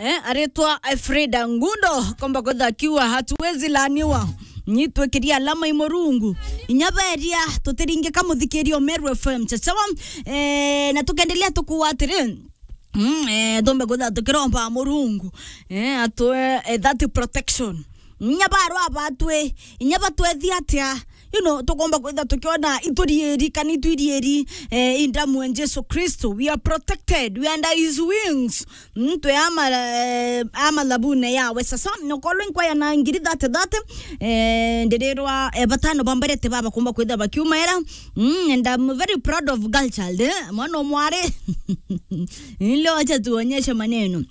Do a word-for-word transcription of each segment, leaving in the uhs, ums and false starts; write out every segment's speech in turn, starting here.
Eh, aritwa Frida Ngundo, komba kwitha akiuga, "Hatuwezi laaniwa. Nyi twikiria alama i Murungu." Inya beria, tutiringika muthikiria o Meru F M. Chachawa, eh, na tukendelea tukuwa atiri, mm, eh, tumbe kwitha tukiromba Murungu, eh, atwe, eh, that protection. Inya barwa batwi, inya batwethi atia, you know, tukomba kwitha tukiona iturieri kana itwirieri, eh, in damu ya Jesu Kristo. We are protected. We are under his wings. Mm, twe ama, eh, ama labune yawe. Sasa, nokolwe nkwaya na ngiri thate thate, eh, ndirirwa, eh, batano bambarete baba komba kwitha bakiumaira. Mm, and I'm very proud of girl child, eh? Mwana omwari. Leo acha tuonyeshe maneno.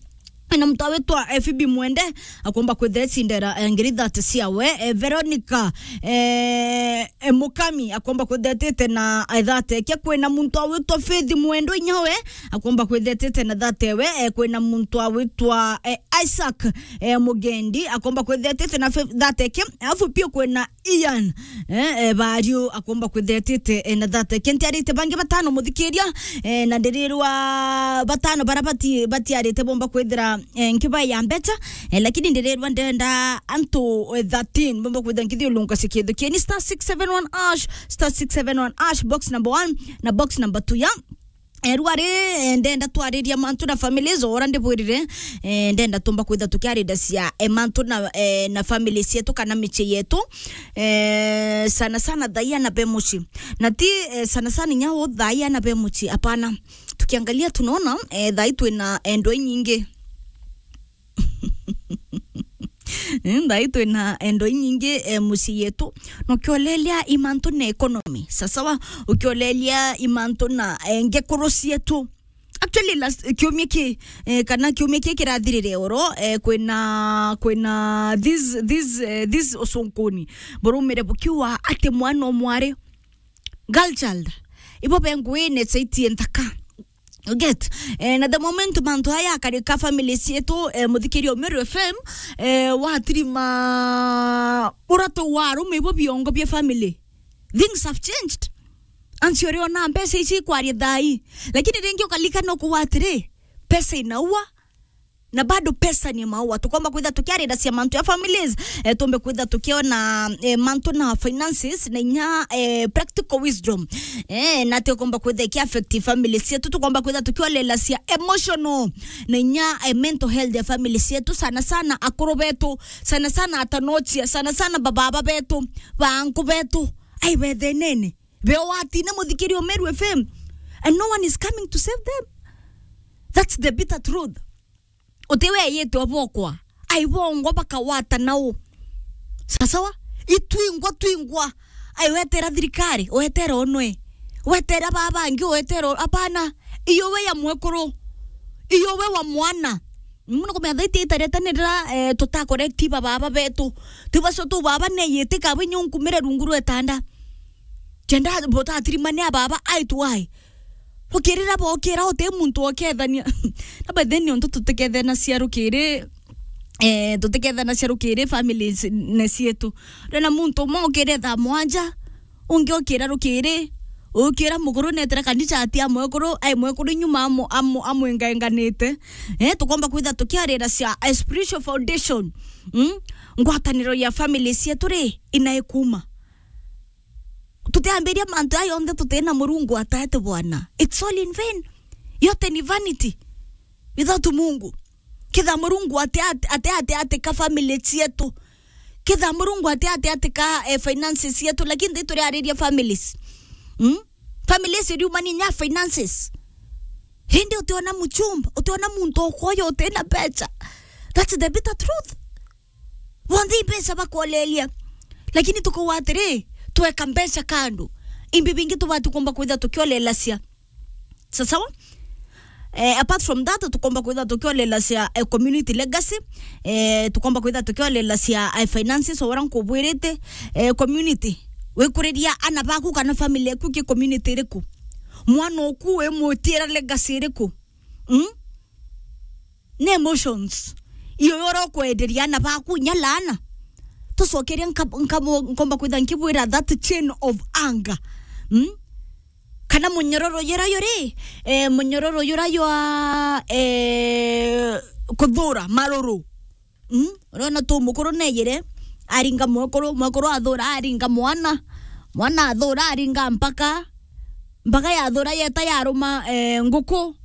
Na mtu awitwa, eh, Phoebe Mwende, akomba kwitha ecindera, eh, ngiri thate ciawe, eh, Veronica, eh, eh, Mukami, akomba kwitha etite na, eh, thate eke. Kwina muntu awitwa Faith Mwendo inyawe, akomba kwitha etite na thate we, eh, kwina muntu awitwa, eh, Isaac, eh, Mugendi, akomba kwitha etite na fe-, thate eke. Alafu pia kwina Ian, eh, eh, Bariu akomba kwitha etite, eh, na thate eke. Ntiarite bangi batano muthikiria, eh, na ndirirwa batano bara bati-, batiarite bomba kwithira, eh, nkiba ya mbecha, eh, lakini ndirirwa ndenda antu, eh, thirteen bomba kwithira nkithiulunka cia kintu kieni star six seven one hash, star six seven one hash, box number one na box number two ya. Eh, rwari, eh, ndenda twariria mantu na families, ora ndibwirire, eh, ndenda tumba kwitha tukiarida cia, eh, mantu na, eh, na families yetu kana michie yetu, eh, sana sana thaia na be muci. Na ti, eh, sana sana inya u thaia na be muci, apana. Tukiangalia tunaona, eh, thai twina, eh, ndwai nyingi. Mm, thai twina, eh, ndwai nyingi, eh, mucii yetu. Na ukiolelia i mantu na economy. Sasawa, ukiolelia i mantu na, eh, ngekuru cietu. Actually, last, kiumia ki, eh, kana kiumia ki kirathirire oro, eh, kwina, kwina this, this, eh, this usunkuni. Burumire bukiuga ati mwana omwari, girl child, ibo be nguine caitie nthaka. You get? Eh, na the moment mantu aya akarika family cietu, eh, muthikiria o Meru F M, eh, watirima uratu wa arume ibo biongo bia family. Things have changed. Ansi uri ona mbeca ici ikwaria thai. Lakini ringi ukalikana ukuwa atiri, pesa inaua, na bado pesa ni maua. Tukomba kwitha tukiarira cia mantu ya families, eh, tumbe kwitha tukiona, eh, mantu na finances, na inya, eh, practical wisdom. Eh, na tukomba kwitha iki affect families cietu, tukomba kwitha tukiolela cia emotional, na inya, eh, mental health ya families cietu, sana sana akuru betu, sana sana atanochia, sana sana bababa betu, banku betu. Ai, bethenene. Beo watine muthikiria o Meru F M, and no one is coming to save them. That's the bitter truth. Uti weyite obokwa. Ai, bongo bakawata nao. Sasawa? Itwingwa, twingwa. Ai, wetera thirikari, wetera onwe. Wetera babangi, wetera o-, apana. Iyo we ya mwekuru. Iyo we wa mwana. Muno kumenya thaiti itareta nirira, eh, tutakorekti bababa betu. Tibacio tu baba neyite kabe nyunkumire rungu rwetanda. Kenda butatirimania baba, ai tu ai. Rukirira bokira uti muntu okethania. Na by then niontu tutikethanacia rukiri, eh, tutikethanacia rukiri families ne cietu. Rena muntu umwe okire thaa mwanja, ungi okira rukiri, ukira mukuru netera kanisa ati a mwekuru, ai mwekuru nyuma amu-, amu-, amwengaenganite. Eh, tukomba kwitha tukiarira cia a spiritual foundation. Mm? Ngwataniro ya families cietu ri, inaikuma. Tutiambiria mantu aya onthe tutina Murungu ataete bwana. It's all in vain. Yote ni vanity without Mungu. Kitha Murungu ate, ate, ate, ate, ate ka family cietu. Kitha Murungu ate, ate, ate ka, eh, finances cietu. Lakini thi turiariria families. Mm? Families iriumani nya finances. Hindi utiona muchumba, utiona muntu ukoyo utina mbecha. That's the bitter truth. Bonthe i mbeca bakolelia. Lakini tukuwa atiri, tweka mbeca kando. Imbi bingi tubati kumba kwitha tukiolelacia. Sasawa? Eh, apart from that, tukomba kwitha tukiolelacia, eh, community legacy. Eh, tukomba kwitha tukiolelacia, eh, finances, ora nkubwirite, eh, community. Wikuriria ana baku kana family yaku ki community iriku? Mwana oku wimwitira legacy iriku? Mm? Ni emotions. Iyo yora ukwenderia ana baku inya laana. Tucokeria nka-, nka-, nkomba kwitha nkibwira that chain of anger. Mm? Kana munyororo yura yuri, eh, munyororo yura ywa, eh, kuthura maruru. Mm? Urona tu mukuru neyire, aringa mwekuru, mwekuru athura, aringa mwana, mwana athura, aringa mpaka, mpaka yathura yeta yaruma, eh, nguku.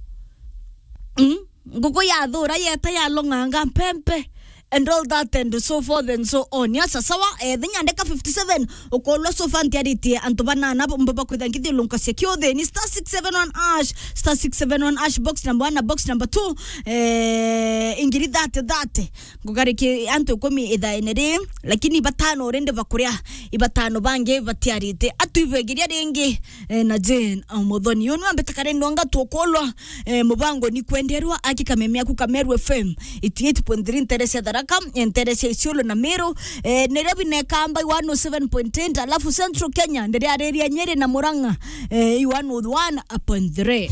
Mm? Nguku yathura yeta yalong'anga mpempe, and all that and so forth and so on. Yasa sawa, eh, thinya ndeka fifty-seven, ukolwa so far ntiaritie antu banana bo mbo bakwitha ngithi lunka cia kiuthi ni star six seven one hash, star six seven one hash, box number one na box number two, eh, ingiri thirty thirty. Ngugariki antu ikumi ithaene ri, lakini ibatano rindi bakuria, ibatano bangi batiarite. Atuibegiria ringi, eh, na Jane, ah, Muthoni. Yo niwe ambita kare ndonga tukolwa, eh, mubango ni kwenderwa aki kameme aku Kameru F M, eighty-eight point three ntere cia Tharaka, eh, ntere cia Isiolo na Meru, eh, nirio binekamba one oh seven point eight, alafu Central Kenya, ndiria ariria Nyeri na Murang'a, eh, one oh one point three.